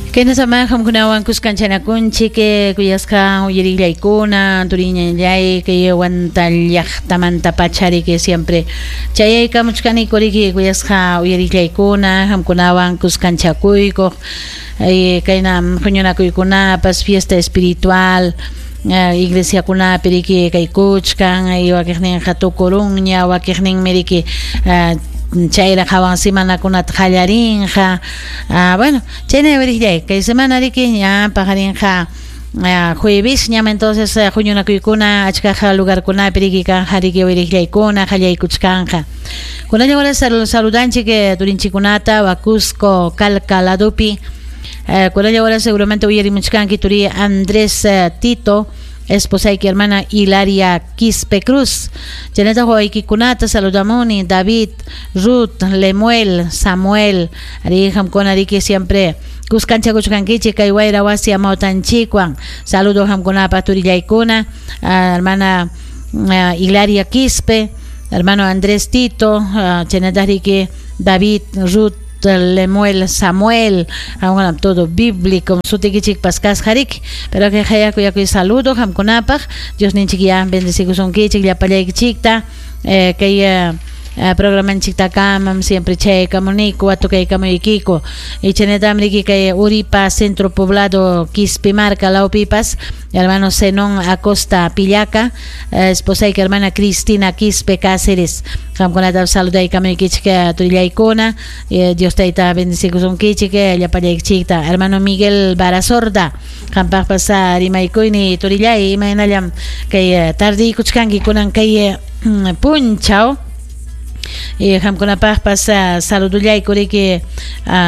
Kayna qamkunawan kuskanchanakunchik kuyasqa uyarillaykuna turiñallay kay Huanta llaqtamanta pachariki siempre chayaykamuchkaniku riki kuyasqa uyarillaykuna qamkunawan kuskanchakuykuq kayna huñunakuykunapas fiesta espiritual iglesiakunapi riki kaykuchkan wakiqninqa tukurunña wakiqninmi riki chayraq hawan semanakunata qallarinqa. Bueno, chayna uyariqllay kay semana riki ña paqarinqa jueves ñam entonces huñunakuykuna achkaqa lugarkunapi riki kanja riki uyariqllaykuna qallaykuchkanqa. Kunalla hora saludanchik turinchikunata Cusco Calca ladupi. Kunalla hora seguramente uyarimuchkanki turi Andrés Tito, esposayki hermana Hilaria Quispe Cruz. Chaynata wawaykikunata saludamuni David, Ruth, Lemuel, Samuel, ari qamkuna riki siempre kuskanchakuchkankichik kay wayra wasi amawtanchikwan. Saludo qamkunapa turillaykuna, hermana Hilaria Quispe, hermano Andrés Tito, chaynata riki David, Ruth, Lemuel, Samuel, todo bíblico, sutikichik pascasqa riki, pero que hayakuyakuy saludo qamkunapaq, Dios ninchik ya bendecikusunkichik llapallaykichikta, kay programanchiktakamam siempre chaykamuniku watukaykамuykiku y chaynatam riki kay Uripa Centro Poblado Quispimarca lawpipas hermano Zenón Acosta Pillaca, esposayki hermana Cristina Quispe Cáceres, qamkunata saludaykamuykichik turillaykuna, Dios tayta bendecikusunkichik llapallaykichikta. Hermano Miguel Barasorda, qampaqpas rimaykuyni turillay imaynallam kay tardiykuchkanki kunan kay punchaw. Qamkunapaqpas saludullayku riki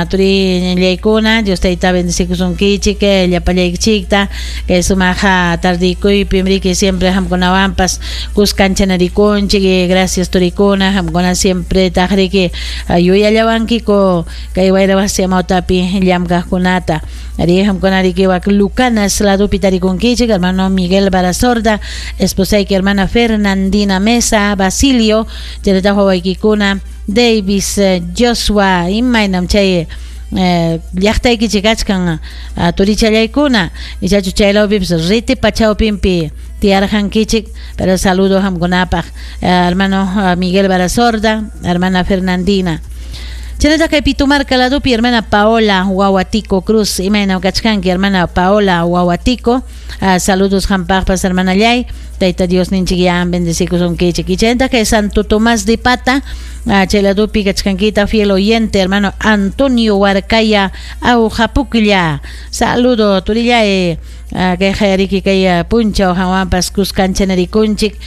turillaykuna, Dios tayta bendecikusunkichik llapallaykichikta kay sumaqa tardiykuypim riki siempre qamkunawanpas kuskanchanarikunchik. Gracias turikuna, qamkuna siempre taq riki yuyallawankiku kay wayra wasi amawtapi llamkaqkunata. Ari qamkuna riki wak Lucanas ladupi tarikunkichik, hermano Miguel Barasorda, esposayki hermana Fernandina Mesa Basilio, chaynataq wawaykikuna Davis, Joshua, imaynam chay llaqtaykichik kachkan turichallaykuna, ichachu chaylawpipas riti pachawpimpi tiyarqankichik, pero saludo qamkunapaq, hermano Miguel Barasorda, hermana Fernandina. Chaynataq kay Pitumarca ladupi hermana Paola Wahuatico Cruz, imaynam kachkanki hermana Paola Wahuatico, saludos qampaqpas hermanallay, Tayta Dios ninchik ya bendecikusunkichik. Y chaynataq kay Santo Tomás de Pata, chay ladupi kachkankita fiel oyente hermano Antonio Huarcaya Aujapuklla, saludo turillay, kay hayariki kay punchaw hawanpas kuskanchanarikunchik,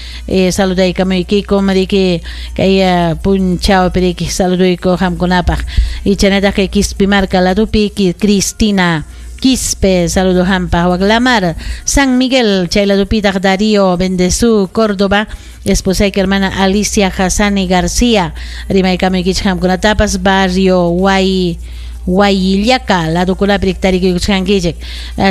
saludaykamuykikum riki kay punchaw piriki saluduyku qamkunapaq. Y chaynataq kay Quispimarca ladupi Cristina Quispe, saludo hampa Waglamar, San Miguel, chay ladupitaq Darío Bendezú, Córdoba, esposayki hermana Alicia Hassani García, rimaykamuykichik qamkunatapas barrio Huayillaca, ladukunapi tarikuykuchkankichik.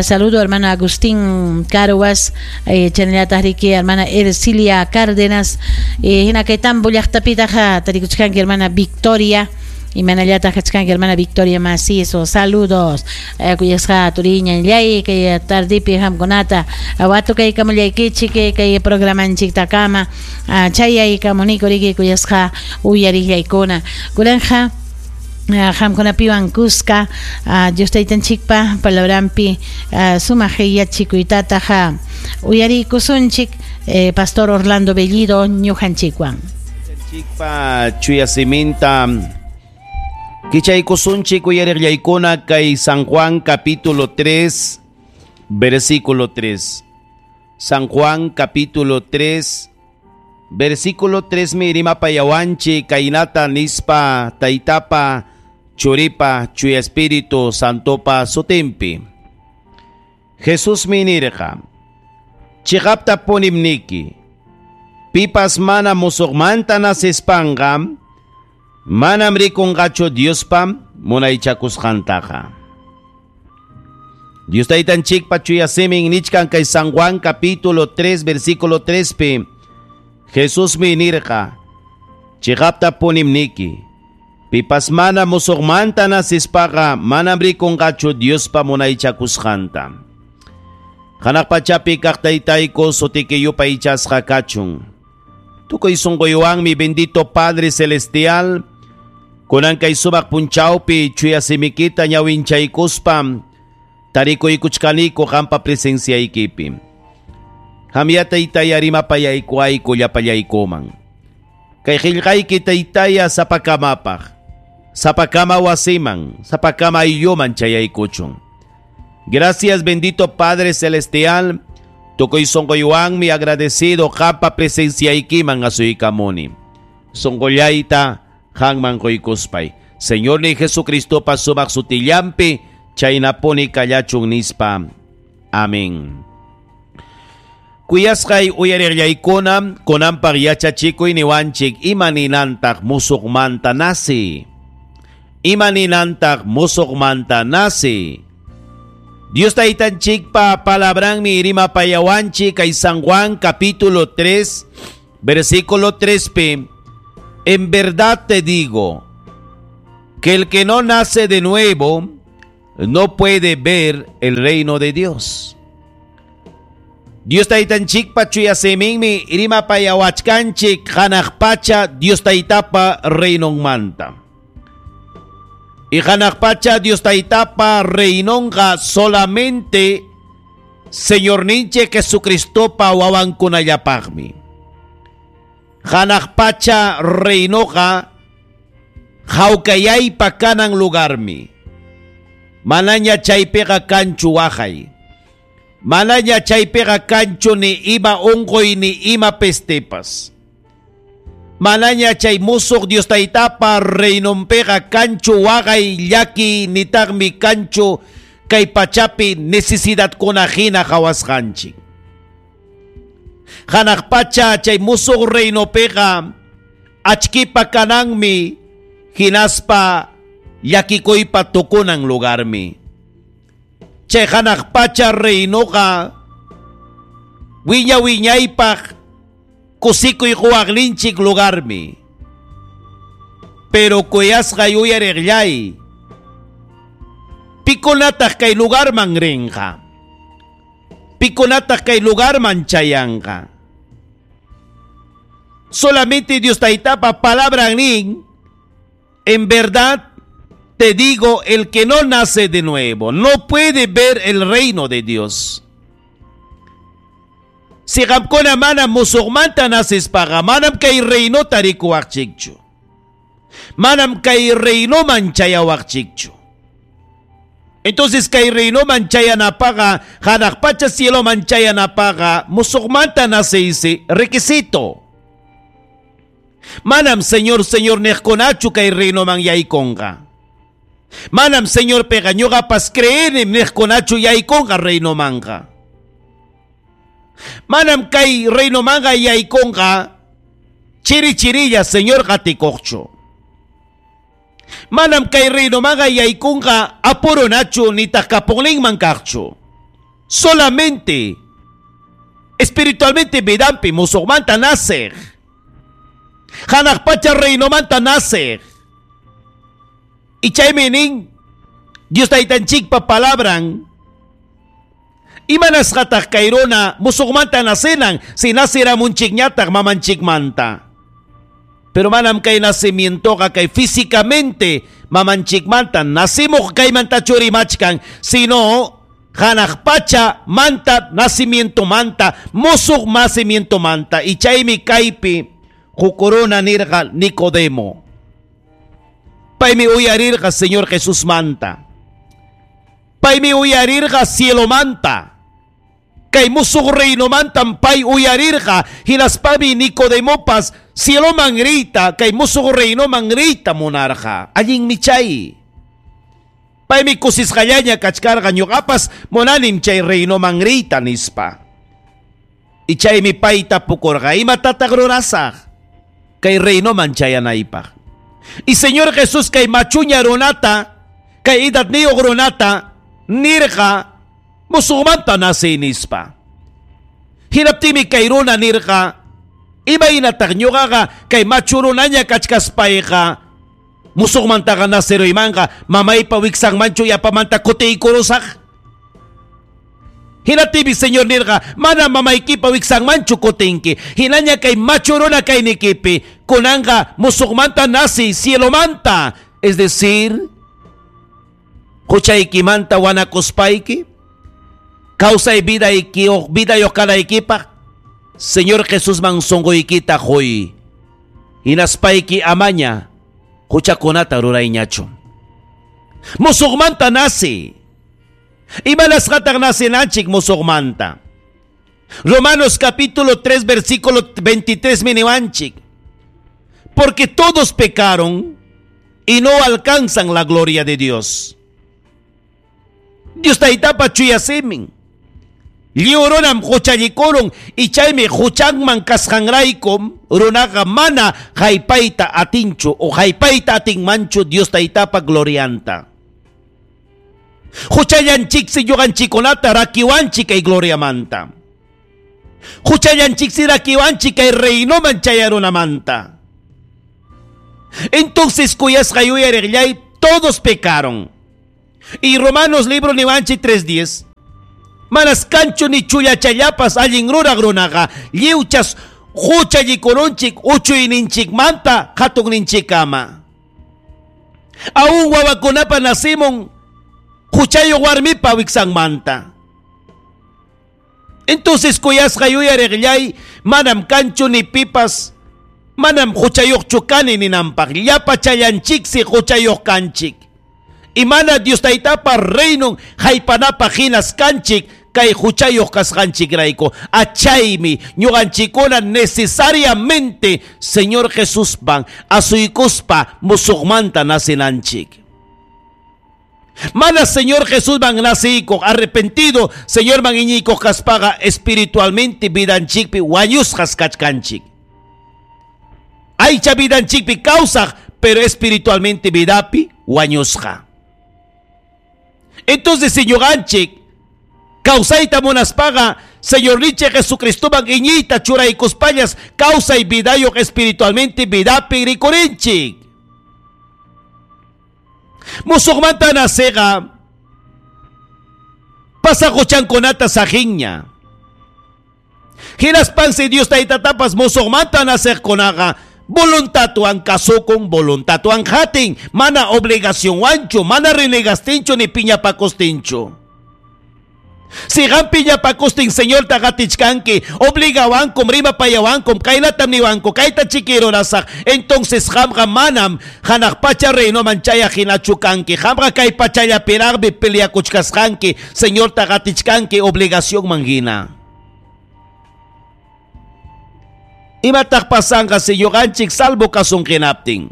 Saludo hermano Agustín Carhuas, chaynallataq riki hermana Ercilia Cárdenas, hina kay Tambo llaqtapitaq tarikuchkanki hermana Victoria, imanallataq kachkanki hermana Victoria Macizo, saludos kuyasqa turiñallay kay tardipi qamkunata watukaykamullaykichik kay programanchiktakama chayaykamuniku riki kuyasqa uyariqllaykuna. Kunanja qamkunapiwan kuska Dios taytanchikpa palabranpi sumaq yachikuytataqa uyariykusunchik Pastor Orlando Bellido ñuqanchikwan. Chikpa chuya siminta kichaykusunchik uyariqllaykuna kay San Juan capítulo 3 versículo 3. San Juan capítulo 3 versículo 3 mi rimapayawanchik kaynata nispa taytapa churipa chuya espíritu santopa sutinpi. Jesús minirqa chiqapta punimniki pipas mana musuqmanta nasispanqa manam rikunqachu Diospa munaychakusqantaqa. Dios taytanchikpa chuya simin nichkan kay San Juan capítulo 3 versículo 3 pi Jesús minirqa chiqapta punimniki Pipas mana musuqmanta nasispaqa manam rikunqachu Diospa munaychakusqanta. Hanaq pachapi kaq taytayku sutiki yupaychasqa kachun. Tukuy sunquywanmi bendito Padre Celestial, kunan kay sumaq punchawpi chuya simikita ñawinchaykuspa tarikuykuchkaniku qampa presenciaykipi. Hamya taytaya rimapayaykuayku llapallaykuman. Kay qillqayki taytaya sapakamapaq, sapakama wasiman, sapakama aylluman chayaykuchun. Gracias bendito Padre Celestial, tukuy sunquywanmi agradecido qampa presenciaykiman asuykamuni. Sunqullayta qanman quykuspay. Señor ni Jesucristopa sumaq sutillampi chaynapuni kallachun nispa. Amén. Kuyasqay uyariqllaykuna kunanpaq yachachikuy niwanchik ima ninantaq musuqmanta nasi. Ima ninantaq musuqmanta nasi. Dios taytanchikpa palabranmi rimapayawanchik kay San Juan capítulo 3 versículo 3p. En verdad te digo que el que no nace de nuevo no puede ver el reino de Dios. Dios taytanchikpa chuya siminmi rimapayawachkanchik hanaq pacha Dios taytapa reinonmanta. Y hanaq pacha Dios taytapa reinonqa solamente Señorninchik Jesucristopa wawankunallapaqmi. Hanaq pacha reinoqa hawkayaypa kanan lugarmi. Manaña chaypiqa kanchu waqay. Manaña chaypiqa kanchu ni ima unquy ni ima pestepas. Manaña chay musuq Dios taytapa reinonpiqa kanchu waqay llaki nitaqmi kanchu kay pachapi necesidadkuna hina qhawasqanchik. Hanaq pacha chay musuq reinopiqa achkipa kananmi hinaspa llakikuypa tukunan lugarmi. Chay hanaq pacha reinoqa wiña wiñaypaq kusikuy quwaqninchik lugarmi. Pero kuyasqa yuyariqllay, pikunataq kay lugarman rinqa, pikunataq kay lugarman chayanqa. Solamente Dios taytapa palabra nin, en verdad te digo, el que no nace de nuevo no puede ver el reino de Dios. Si qamkuna mana musuqmanta nasispaqa manam kay reinota rikuwaqchikchu. Manam kay reinoman chayawaqchikchu. Entonces kay reinoman chayanapaqa, hanaq pacha cieloman chayanapaqa, musuqmanta naceysi requisito. Manam Señor, Señor niqkunachu kay reinoman yaykunqa. Manam Señor piqa ñuqapas creenim niqkunachu yaykunqa reinomanqa. Manam kay reinomanqa yaykunqa chiri chirilla Señor qatikuqchu. Manam kay reinomanqa yaykunqa apurunachu nitaq kapuqninman kaqchu. Solamente espiritualmente vidanpi musuqmanta naceq. Hanaq pacha reinomanta naceq. Y chaymi nin Dios taytanchikpa palabran. Imanasqataq kay runa musuqmanta nacenan si naceramunchikñataq mamanchikmanta. Pero manam kay nacimientoqa kay físicamente mamanchikmanta nacimuq kaymanta churimachkan, sino hanaq pacha manta nacimiento manta musuq nacimiento manta. Y chaymi kaypi huk runa nirqa Nicodemo. Paymi uyarirqa Señor Jesús manta. Paymi uyarirqa cielo manta. Kay musuq reinomantam pay uyarirqa hinaspami Nicodemopas cieloman riyta kay musuq reinoman riyta munarqa. Allinmi chay. Paymi kusisqallaña kachkarqa ñuqapas munanim chay reinoman riyta nispa. Y chaymi payta pukurqa imatataq rurasaq kay reinoman chayanaypaq. Y Señor Jesús kay machuña runata kay edadniyuq runata nirqa musuqmanta naciy nispa. Hinaptinmi kay runa nirqa imaynataq ñuqaqa kay machu runaña kachkaspayqa Musuqmantaqa naceruymanqa mamaypa wiksanmanchu yapamanta kutiykurusaq? Hinaptinmi Señor nirqa, manam mamaykipa wiksanmanchu kutinki. Hinaña kay machu runa kaynikipi, kunanqa musuqmanta naciy cielomanta. Es decir, huchaykimanta wanakuspayki, kawsay vidayki vidayuq kanaykipaq, Señor Jesusman sunquykita quy. Hinaspayki amaña huchakunata rurayñachu. Musuqmanta naciy. Imanasqataq nacenanchik musuqmanta? Romanos capítulo 3 versículo 23 miniwanchik. Porque todos pecaron y no alcanzan la gloria de Dios. Dios taytapa chuya simin. Lliw runam huchallikurun y chaymi huchanman kasqanraykum runaqa mana haypayta atinchu o haypayta atinmanchu Dios taytapa glorianta. Huchallanchiksi ñuqanchikkunata rakiwanchik kay gloriamanta. Huchallanchiksi rakiwanchik kay reinoman chayarunamanta. Entonces kuyasqa yuyariqllay todos pecaron. Y Romanos libro niwanchik 3.10 Manas kanchu ni chullachallapas allin ruraq runaqa lliwchas huchallikurunchik uchuyninchikmanta hatunninchikkama. Aún wawakunapa nacimun huchayuq warmipa wiksanmanta. Entonces kuyasqa yuyariqllay manam kanchu ni pipas manam huchayuqchu kani ninanpaq llapachallanchiksi huchayuq kanchik. Y mana Dios taytapa reinon haypanapaq hinas kanchik kay huchayuq kasqanchikrayku. Achaymi ñuqanchikkuna necesariamente Señor Jesuspan asuykuspa musuqmanta nacinanchik. Mana Señor Jesusman naciykuq arrepentido Señorman iñiykuq kaspaqa espiritualmente vidanchikpi wañusqas kachkanchik. Aycha vidanchikpi kawsaq pero espiritualmente vidapi wañusqa. Entonces, si ñuqanchik kawsayta munaspaqa Señorninchik Jesucristoman iñiyta churaykuspallas kawsay vidayuq espiritualmente vidapi rikurinchik. Musuqmanta naciqa pasaq huchankunata saqinña. Hinaspansi Dios taytatapas musuqmanta naciqkunaqa voluntadwan kasukun, voluntadwan hatin, mana obligacionwanchu, mana renegastinchu ni piñapakustinchu. Si qam piñapakustin Señorta qatichkanki, obligawankum, rimapayawankum, kaynatam niwanku, kayta chikirurasaq, entonces qamqa manam hanaq pacha reinoman chayaq hinachu kanki, qamqa kay pachallapiraqmi peleakuchkasqanki, Señorta qatichkanki obligacionman hina. Imataq pasanqa si ñuqanchik salvo kasun hinaptin?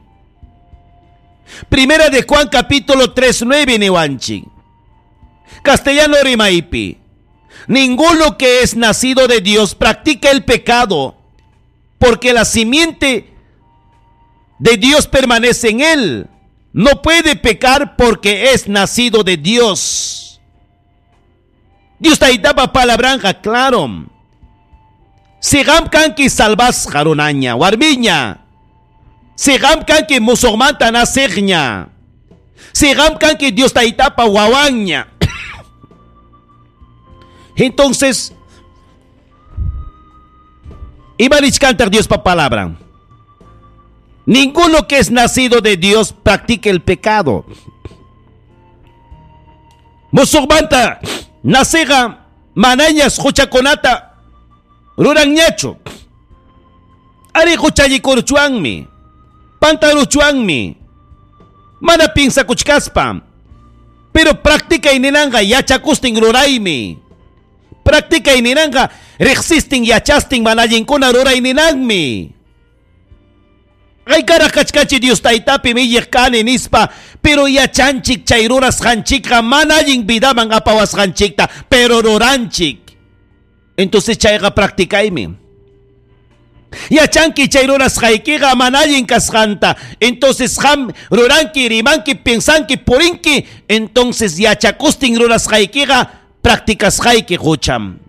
Primera de Juan capítulo 3, 9 niwanchik. Castellano rimaypi. Ninguno que es nacido de Dios practica el pecado, porque la simiente de Dios permanece en él. No puede pecar porque es nacido de Dios. Dios taytapa palabranqa claro. Si qam kanki salvasqa runaña, warmiña. Si qam kanki musuqmanta naciqña. Si qam kanki Dios taytapa wawanña. Entonces, ima nichkantaq Diospa palabra. Ninguno que es nacido de Dios practica el pecado. Musuqmanta naciqa manañas huchakunata ruranñachu. Ari huchallikurchuanmi, pantaruchuanmi, mana pinsakuchkaspa. Pero practica ninanqa yachakustin ruraymi. Practica ninanqa riqsistin yachastin mana allinkuna ruray ninanmi. Haykaraq kachkanchik Dios taytapi iñiq kani nispa, pero yachanchik chay rurasqanchikqa mana allin vidaman apawasqanchikta, pero ruranchik. Entonces chayqa practicaymi. Yachanki chay rurasqaykiqa mana allin kasqanta. Entonces qam ruranki, rimanki, pensanki, purinki, entonces yachakustin rurasqaykiqa practicasqayki hucham.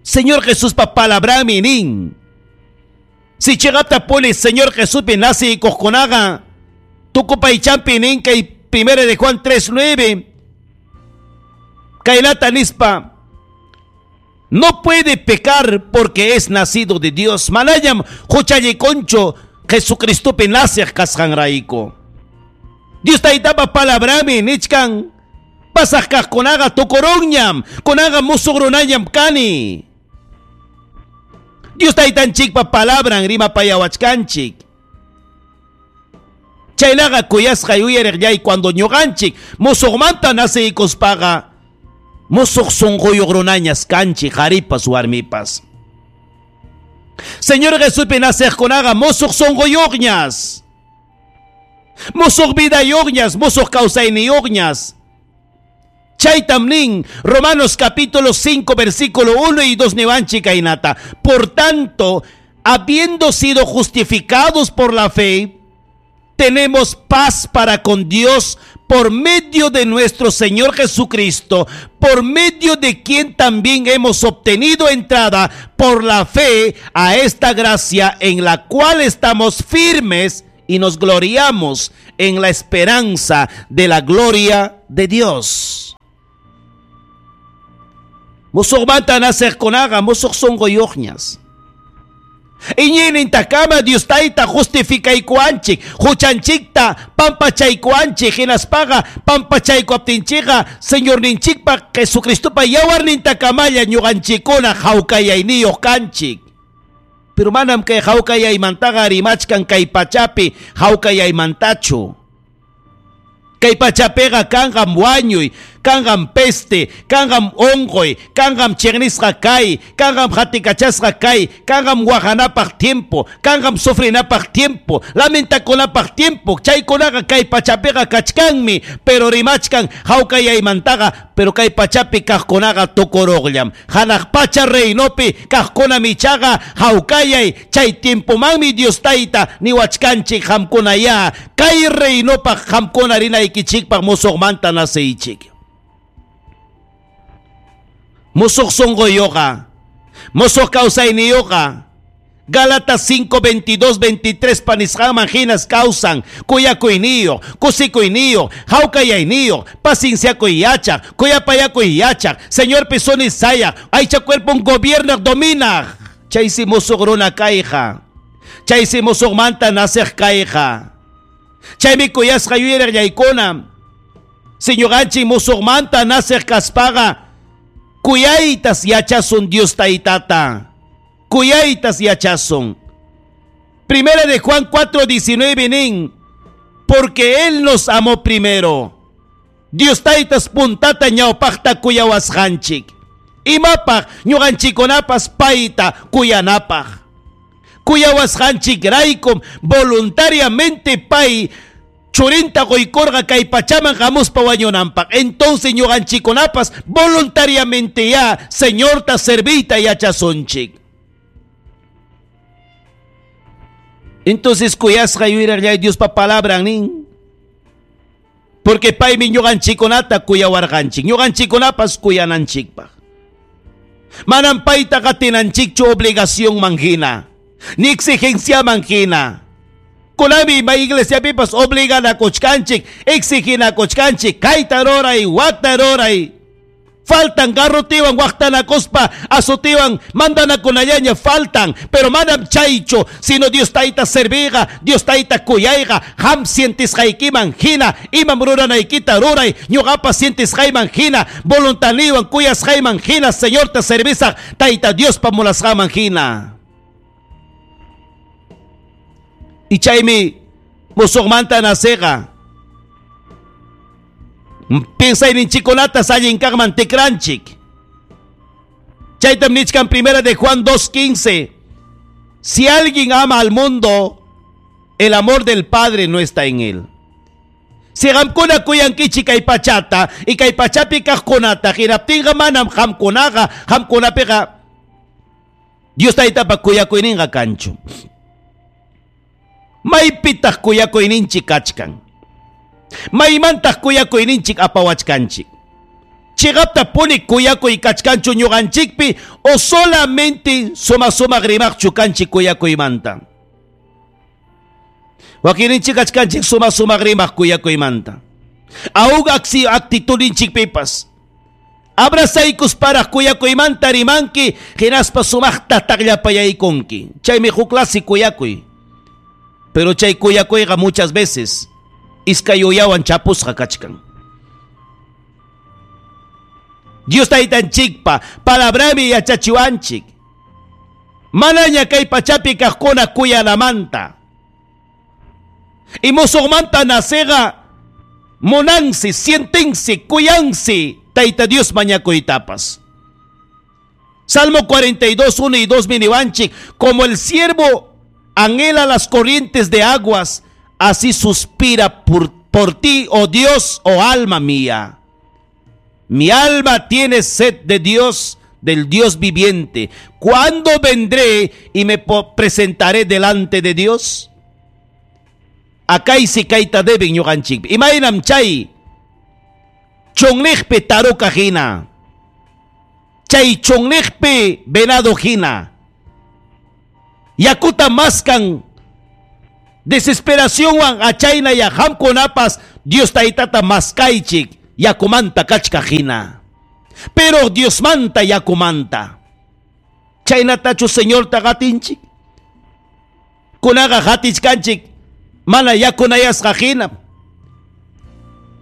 Señor Jesuspa palabrami nin. Si chiqaptapuni Señor Jesuspi naciykuqkunaqa tukupaychampi nin kay primera de Juan 3:9 kaynata nispa: no puede pecar porque es nacido de Dios. Manañam huchallikunchu Jesucristopi naciq kasqanrayku. Dios Taytapa palabrami nichkan pasaq kaqkunaqa tukurunñam, kunaqa musuq runañam kani. Dios Taytanchikpa palabran rimapayawachkanchik. Chaynaqa kuyasqay uyariqllay cuando ñuqanchik musuqmanta naciykuspaqa musuq sunquyuq runañas kanchik qharipas warmipas. Señor Jesuspi naciqkunaqa musuq sunquyuqñas, musuq vidayuqñas, musuq kawsayniyuqñas. Chaytam nin Romanos capítulo 5 versículo 1 y 2 niwanchik kaynata: por tanto, habiendo sido justificados por la fe, tenemos paz para con Dios por medio de nuestro Señor Jesucristo, por medio de quien también hemos obtenido entrada por la fe a esta gracia en la cual estamos firmes y nos gloriamos en la esperanza de la gloria de Dios. Musuqmanta naciqkunaqa musuq sunquyuqñas. Iñiynintakama Dios Tayta justificaykuwanchik, huchanchikta pampachaykuwanchik, hinaspaqa pampachaykuaptinchikqa Señorninchikpa Jesucristopa yawarnintakamalla ñuqanchikkuna hawkayayniyuq kanchik. Pero manam kay hawkayaymantaqa rimachkan kay pachapi hawkayaymantachu. Kay pachapiqa kanqam wañuy, kanqam peste, kanqam unquy, kanqam chiqnisqa kay, kanqam qatikachasqa kay, kanqam waqanapaq tiempo, kanqam sufrinapaq tiempo, lamentakunapaq tiempo. Chaykunaqa kay pachapiqa kachkanmi, pero rimachkan hawkayaymantaqa, pero kay pachapi kaqkunaqa tukuruqllam. Hanaq pacha reinopi kaqkunam ichaqa hawkayay, chay tiempomanmi Dios Tayta niwachkanchik qamkuna ya, kay reinopaq qamkuna rinaykichikpaq musuqmanta naciychik. Musuq sunquyuqa, musuq kawsayniyuqa, Gálatas 5, 22, 23 panisqanman hinas kawsan, kuyakuyniyuq, kusikuyniyuq, hawkayayniyuq, pacienciakuy yachaq, kuyapayakuy yachaq, Señorpi suni sayaq, aycha cuerpon gobiernaq dominaq. Chaysi musuq runa kayqa, chaysi musuqmanta naciq kayqa. Chaymi kuyasqa yuyariqllaykuna, si ñuqanchik musuqmanta naciq kaspaqa, kuyaytas yachasun Dios Taytata. Kuyaytas yachasun. Primera de Juan 4:19 nin, porque Él nos amó primero. Dios Taytas puntata ñawpaqta kuyawasqanchik. Imapaq ñuqanchikkunapas payta kuyanapaq. Kuyawasqanchik raykum voluntariamente pay churinta quykurqa kay pachaman hamuspa wañunanpaq. Entonces ñuqanchikkunapas voluntariamente ya Señorta serviyta yachasunchik. Entonces kuyasqa yuyarillay Diospa palabran nin, porque paymi ñuqanchikkunata kuyawarqanchik, ñuqanchikkunapas kuyananchikpaq. Manam payta qatinanchikchu obligación hina, ni exigenciaman hina. Kunami may iglesiapipas obliganakuchkanchik, exiginakuchkanchik, kayta ruray, wakta ruray. Faltan garrotiwan waqtanakuspa, azotiwan mandanakunallaña faltan, pero manam chaychu, sino Dios Tayta serviqa, Dios Tayta kuyayqa, qam sientisqaykiman hina, imam ruranaykita ruray, ñuqapas sientisqayman hina, voluntaniwan kuyasqayman hina, Señorta servisaq, Tayta Diospa munasqanman hina. Y chaymi musuqmanta naciqa. Piensayninchikkunata allin kaqman tikranchik. Chaytam nichkan primera de Juan 2:15. Si alguien ama al mundo, el amor del Padre no está en él. Si qamkuna kuyankichik kay pachata y kay pachapi kaqkunata hinaptinqa manam qamkunaqa qamkunapiqa Dios Taytapa kuyakuyninqa kanchu. Maypitaq kuyakuyninchik kachkan? Maymantaq kuyakuyninchik apawachkanchik? Chiqaptapuni kuyakuy kachkanchu ñuqanchikpi o solamente suma sumaq rimaqchu kanchik kuyakuymanta? Wakinninchik kachkanchik sumaq sumaq rimaq kuyakuymanta. Aún actitudninchikpipas. Abrazaykusparaq kuyakuymanta rimanki, hinaspa sumaqta taqllapayaykunki. Chaymi huk clase kuyakuy. Pero chay kuyakuyqa muchas veces iskay uyawan chapusqa kachkan. Dios taytanchikpa palabrami yachachiwanchik. Manaña kay pachapi kaqkuna kuyanamanta. Y musuqmanta naceqa munansi, sientensi, kuyansi Tayta Dios mañakuytapas. Salmo 42, 1 y 2 miniwanchik, como el siervo anhela las corrientes de aguas, así suspira por ti, oh Dios, oh alma mía. Mi alma tiene sed de Dios, del Dios viviente. ¿Cuándo vendré y me presentaré delante de Dios? Akaysi kayta deben ñuqanchikpi. Imaynam chay chunniqpi taruka hina. Chay chunniqpi venado hina. Yakuta maskan desesperacionwan achayna ya qamkunapas Dios taytata maskaychik yakumanta kachka hina. Pero Diosmanta yakumanta. Chaynatachu Señorta qatinchik. Kunaqa qatichkanchik mana yakunayasqa hina.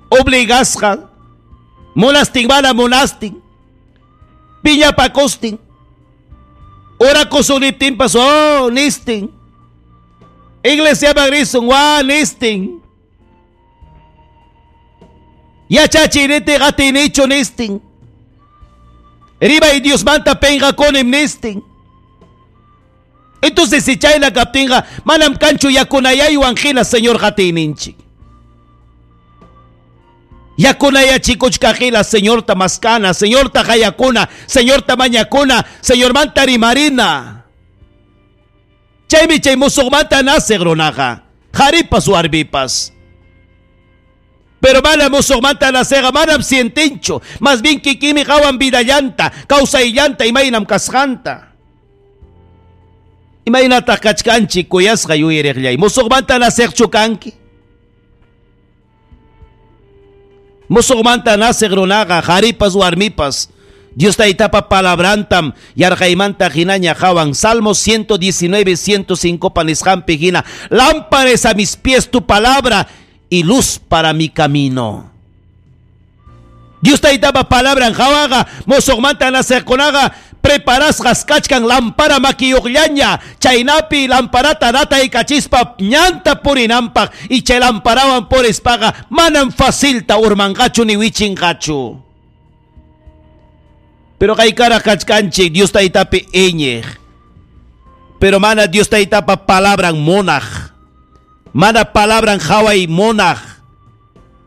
Obligasqa munastin mana munastin. Piñapakostin. Orakusuniptinpas oh nistin. Iglesia risun wa nistin. Yachachiniti qatinichu nistin. Rimay Diosmanta penqakunim nistin. Entonces si chayna kaptinqa manam kanchu yakunayaywan hina Señor qatiyninchik. Yakunayachikuchkaq hina Señorta maskana, Señorta qayakuna, Señorta mañakuna, Señormanta rimarina. Chaymi chay musuqmanta naceq runaqa, qharipas warmipas. Pero mana musuqmanta naceqa manam sientinchu, más bien kikimi qawan vidallanta, kawsayllanta imaynam kasqanta. Imaynataq kachkanchik kuyasqa yuyariqllay, musuqmanta naceqchu kanki. Musuqmanta naceq runaqa qharipas warmipas Dios taytapa palabrantam yarqaymanta hinaña qawan. Salmo 119, 105 panisqanpi hina. Lámpara es a mis pies tu palabra y luz para mi camino. Dios taytapa palabran qawaqa musuqmanta naceqkunaqa preparasqas kachkan lampara makiyuqllaña chaynapi lamparata rataykachispa ñanta purinanpaq y chay lamparawan purispaqa manam facilta urmanqachu ni wichinqachu. Pero kaykara kachkanchik Dios taytapi iñiq. Pero mana Dios taytapa palabran munaq. Mana palabran qhaway munaq.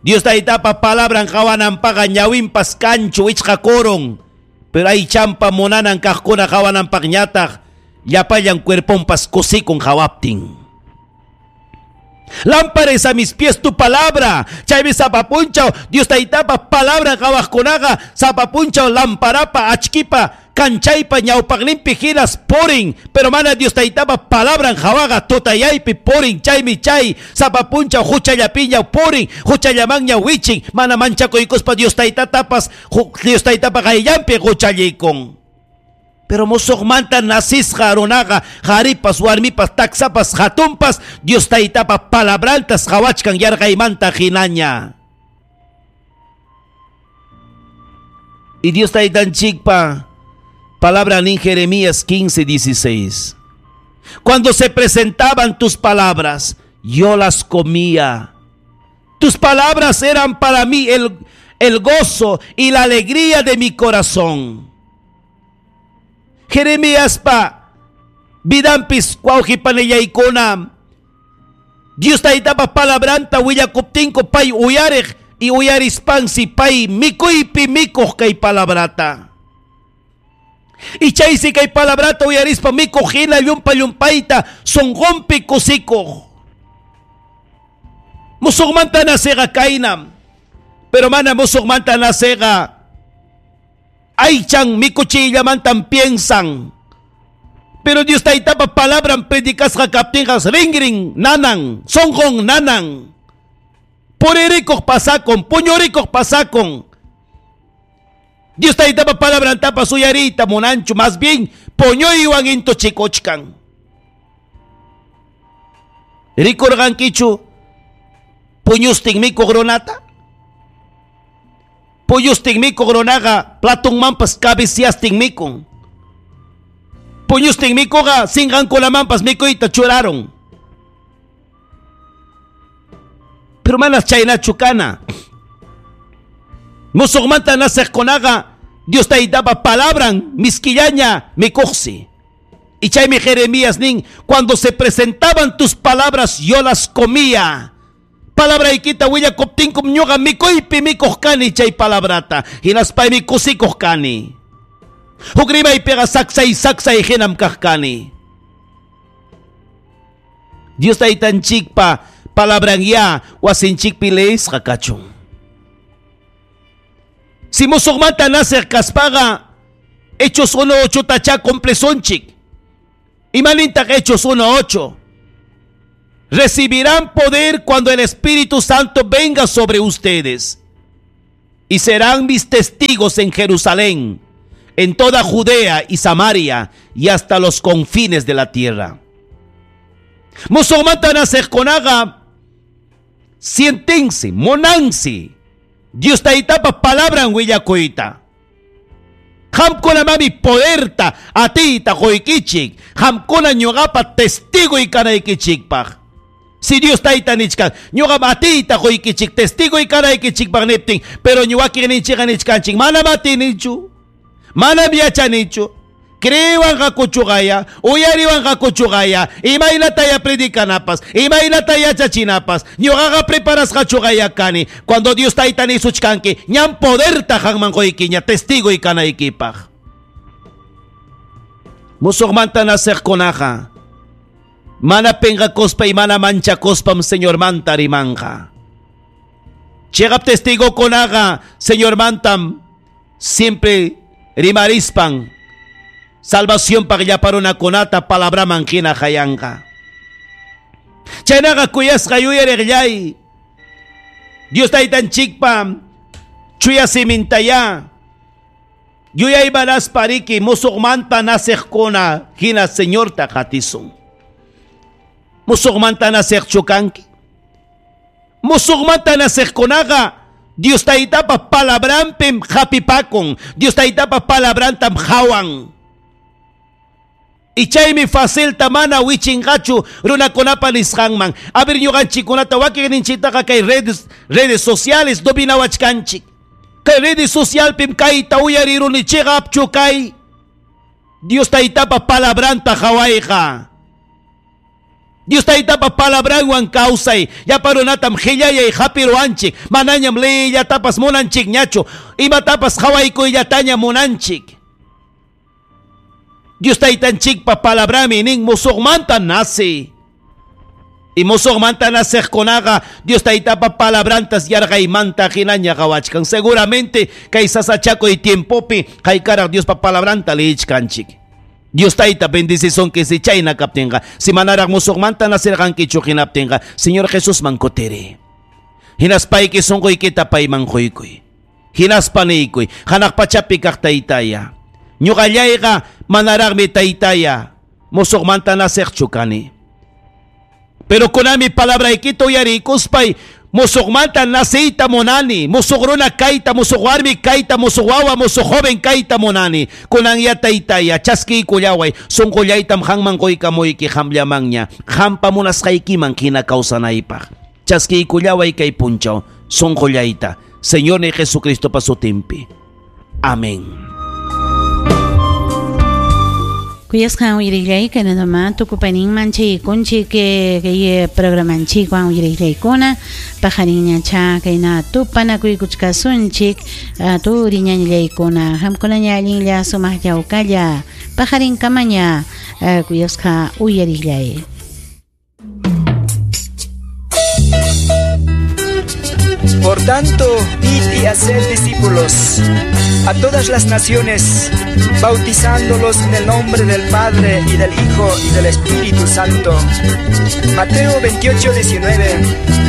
Dios taytapa palabran qhawananpaqa ñawinpas kanchu wichqakurun. Pero aychampa munanan kaqkuna qhawananpaqñataq llapallan cuerponpas kusikun qhawaptin. Lámpara es a mis pies tu palabra. Chaymi sapapunchaw Dios taytapa palabra qhawaqkunaqa sapapunchaw lamparapa achkipa kanchaypa ñawpaqninpi hinas purin. Pero mana Dios taytapa palabran qhawaqa tutayaypi purin. Chaymi chay sapapunchaw huchallapiña purin, huchallamanña wichin, mana manchakuykuspa Dios taytatapas Dios taytapa qayllanpi huchallikun. Pero musuqmanta nacisqa runaqa qharipas warmipas taksapas hatunpas Dios taytapa palabrantas qhawachkan yarqaymanta hinaña. Y Dios taytanchikpa palabra en Jeremías 15, 16. Cuando se presentaban tus palabras, yo las comía. Tus palabras eran para mí el gozo y la alegría de mi corazón. Jeremías pa vidampis wawqipanillaykuna Dios taytapa palabranta willakuptinku pay uyariq y uyarispansi pay mikuypi mikuq kay palabrata. Y chaysi kay palabrata uyarispa mikuq hina llumpa llumpayta sunqunpi kusikuq. Musuqmanta naceqa kaynam. Pero mana musuqmanta naceqa aychan mikuchillamantan piensan. Pero Dios taytapa palabran predicasqa kaptinqa ringrin nanan, sunqun nanan. Puririkuq pasakun, puñurikuq pasakun. Dios taytapa palabrantapas uyariyta munanchu, más bien puñuywan intuchikuchkan. Rikurqankichu puñustin mikuq runata? Puñustin mikuq runaqa platunmanpas cabeciastin mikun. Puñustin mikuqa sinqankunamanpas mikuyta churaron. Pero manas chaynachu kana. Musuqmanta naciqkunaqa Dios taytapa palabran miskillaña mikuqsi. Y chaymi Jeremías nin, cuando se presentaban tus palabras yo las comía. Palabraykita willakuptinkum ñuqa mikuypi mikuq kani chay palabrata. Hinaspaymi kusikuq kani. Huk rimaypiqa saksay saksay hinam kaq kani. Dios taytanchikpa palabran ya wasinchikpi leesqa kachun. Si musuqmanta naciq kaspaqa Hechos 1:8 tacha cumplesunchik. Imanintaq Hechos 1:8. Recibirán poder cuando el Espíritu Santo venga sobre ustedes y serán mis testigos en Jerusalén, en toda Judea y Samaria y hasta los confines de la tierra. Musuqmanta naciqkunaqa siéntense, munansi Dios taytapa palabran willakuyta. Qamkunamami poderta atiyta quykichik. Qamkuna ñuqapa testigoy kanaykichikpaq. Si Dios tayta nichkan, ñuqam atiyta quykichik testigoy kanaykichikpaq niptin, pero ñuwakiqninchikqa nichkanchik, manam atinichu, manam yachanichu. Creewanqakuchuqaya, uyariwanqakuchuqaya, imaynataya predicanapas, imaynata yachachinapas, ñuqaqa preparasqachuqaya kani. Cuando Dios tayta nisuchkanki, ñam poderta qanman quykiña testigoy kanaykipaq. Musuqmanta naciqkunaqa mana penqakuspa y mana manchakuspam Señormanta rimanqa. Chiqap testigokunaqa Señormantam siempre rimarispan salvación paq llapa runakunata palabraman hina hayanqa. Chaynaqa kuyasqa yuyariqllay. Dios taytanchikpa chuya simintaya yuyaymanaspa riki musuqmanta naciqkuna hina Señorta qatisun. Musuqmanta naciqchu kanki. Musuqmanta naciqkunaqa Dios taytapa palabranpim hapipakun. Dios taytapa palabrantam hawan. Y chaymi facilta mana wichinqachu runakunapa nisqanman. A ver ñuqanchikkunata wakinninchiktaqa kay redes sociales dominawachkanchik. Kay redes socialpim kayta uyariruni chiqapchu kay Dios taytapa palabranta hawayqa. Dios taytapa palabranwan kawsay. Llapa runatam qillayay hapiruwanchik. Manañam leyllatapas munanchikñachu. Imatapas hawaykuyllataña munanchik. Dios taytanchikpa palabrami nin musuqmanta nace. Y musuqmanta naciqkunaqa Dios taytapa palabrantas yarqaymanta hinaña qawachkan. Seguramente kay sasachakuy tiempopi haykaraq Diospa palabranta leyichkanchik. Dios tayta bendicisunki si chayna kaptinqa. Si manaraq musuqmanta nacirqankichu hinaptinqa Señor Jesusman kutiri. Hinaspayki sunquykita payman quykuy. Hinaspa niykuy hanaq pachapi kaq taytaya. Ñuqallayqa manaraqmi taytaya musuqmanta naciqchu kani. Pero kunami palabraykita uyariykuspay musuqmanta naciyta munani, musuq runa kayta, musuq warmi kayta, musuq wawa, musuq joven kayta munani. Kunan ya taytaya chaskiykullaway, sunqullaytam qanman quykamuyki qamllamanña, qampa munasqaykiman hina kawsanaypaq. Chaskiykullaway kay punchaw, sunqullayta, Señor ni Jesucristopa sutinpi. Amén. Kuyasqan uyariqllay kaynatama tukupaninman chaykunchik kay programanchikwan uyariqllaykuna paqarinñacha kayna tupanakuykuchkasunchik turiñañallaykuna qamkunaña allinlla sumaq yawkalla paqarinkamaña kuyasqa uyariqllay. Por tanto, id y haced discípulos a todas las naciones, bautizándolos en el nombre del Padre y del Hijo y del Espíritu Santo. Mateo 28, 19.